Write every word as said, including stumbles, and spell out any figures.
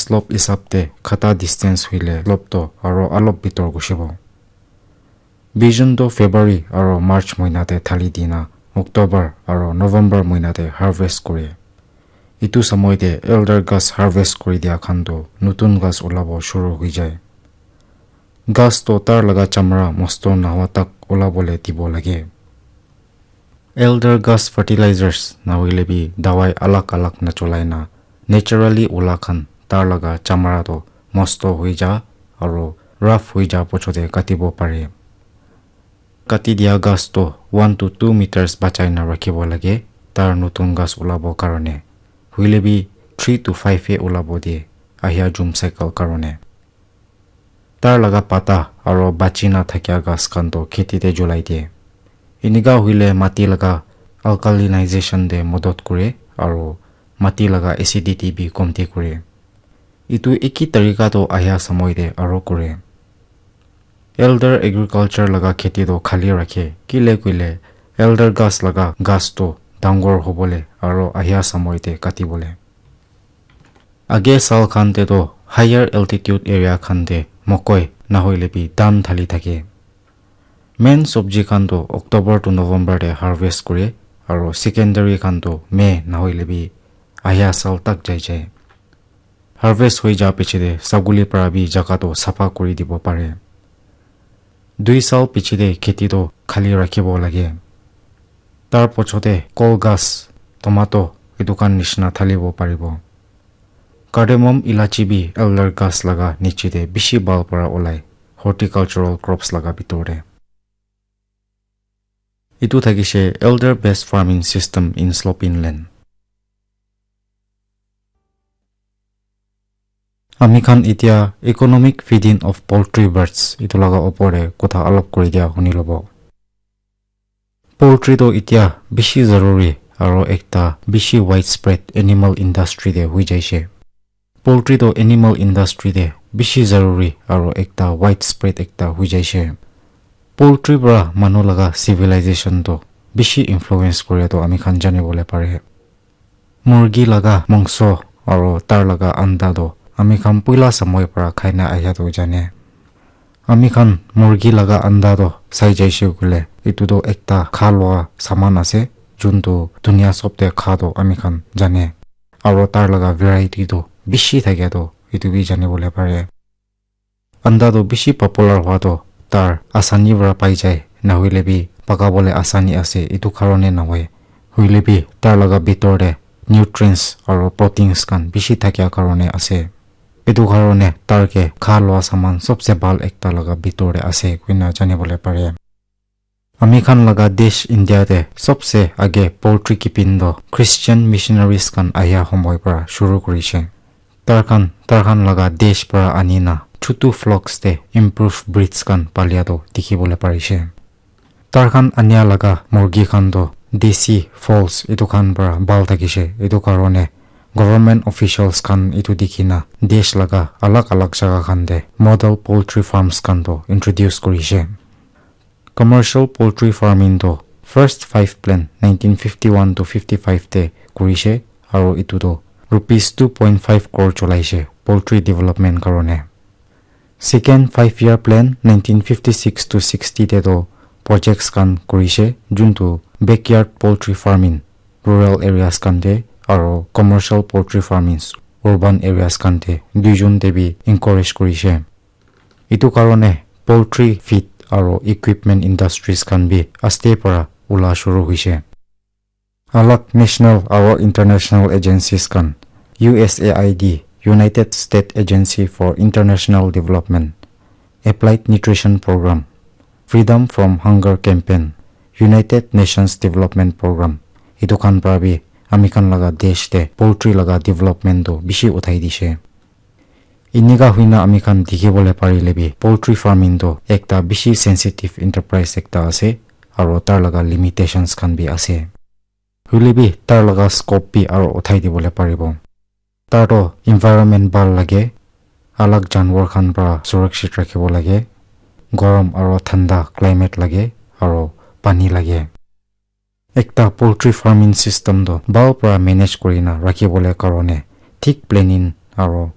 Slope hisab te khata distance hoile slope to aro alop bitor gushibo. Bijon to February aro March moina te thali dina October aro November moina te harvest kore. Itu samoi te elder ghas harvest kuri dia khan to nutun ghas ulabo shuru hoi jai. Ghas to tar laga chamra mosto nahoa tak ulabole dibo lage. Elder ghas fertilizers nahoile bi dawai alag alag nacholai na naturally ula khan tar laga chamra to mosto hoi ja aro rough hoi ja pochote katibo pare. Kati dia ghas to one to two meters bachai na rakhibo lage, tar nutun ghas ulabo karone. Hoile bi three to five he ulabo de ahia jum cycle karone. Tar laga pata aro bachi na thakia ghas khan to kheti te julai de. Inika hoile mati laga alkalinization te modot kore aro mati laga acidity bi komti kore. Itu eki tarika to ahia samoi te aro kore. Elder agriculture laga kheti to khali rakhe, kile koile elder ghas laga ghas to dangor hobole aro ahia samoi te katibole. Age sal khan te to higher altitude area khan te mokoi nahoile bi dhan thali thake. Main sobji khan to October to November te harvest kore aro secondary khan to May nahoile bi ahia sal tak jai jai. Harvest hoi ja piche te saguli para bi jaga to sapha kuri dibo pare. Dui sal piche te kheti to khali rakhibo lage. Tar pochote kol ghas, tomato, etu khan nishina thalibo paribo. Cardamom, ilachi bi elder ghas laga niche te bishi bhal para olai, horticultural crops laga bitor te. Etu thakishe elder based farming system in slope inland. Ami khan etia economic feeding of poultry birds etu laga opor te kotha alop kuri dia huni lobo. Poultry to etia bishi zaruri aro ekta bishi widespread animal industry te hui jaishe. Poultry to animal industry te bishi zaruri aro ekta widespread ekta hui jaishe. Poultry para manu laga civilization to bishi influence kore to ami khan jani bole pare. Murgi laga mangso aro tar laga anda to ami khan puila samoi para khai na ahia to jane. Ami khan murgi laga anda to sai jaishe koile, etu to ekta kha lua saman ase, jun to dunia sob te kha to ami khan jane. Aro tar laga variety to bishi thake to etu bi jani bole pare. Anda to bishi popular hua to tar asani para pai jai, nahoile bi paka bole asani ase, etu karone nahoi. Hoile bi tar laga bitor te nutrients aro proteins khan bishi thakia karone ase. Etu karone tar ke kha lua saman sobse bhal ekta laga bitor te ase koina jani bole pare. Ami khan laga desh India te sobse age poultry keeping to Christian missionaries khan ahia homoi para shuru kurishe. Tar khan, tar khan laga desh para ani na chutu flocks te improve breeds khan palia to dikhi bole parishe. Tar khan ania laga murgi khan to desi fowls etu khan para bhal thakishe. Etu karone government officials khan etu dikhi na desh laga alag alag jaga khan te model poultry farms khan to introduce kurishe. Commercial poultry farming to first five plan nineteen fifty-one to fifty-five te kurishe, aro etu to rupees two point five crore cholaishe poultry development karone. Second five year plan nineteen fifty-six to sixty te to projects khan kurishe, jun to backyard poultry farming rural areas khan te aro commercial poultry farming urban areas khan te duijon te bi encourage kurishe. Etu karone poultry feed aro equipment industries khan bi aste para ula shuru hoishe. Alag national aro international agencies khan, U S A I D, United States Agency for International Development, Applied Nutrition Program, Freedom from Hunger Campaign, United Nations Development Program, etu khan para bi ami khan laga desh te poultry laga development to bishi uthai dishe. Enika hoina ami khan dikhi bole parile bi poultry farming to ekta bishi sensitive enterprise ekta ase, aro tar laga limitations khan bi ase. Hoile bi tar laga scope bi aro uthai di bole paribo. Tar to environment bhal lage, alag janwar khan para surakshit rakhibo lage, gorom aro thanda climate lage, aro pani lage. Ekta poultry farming system to bhal para manage kuri na rakhi bole karone thik planning aro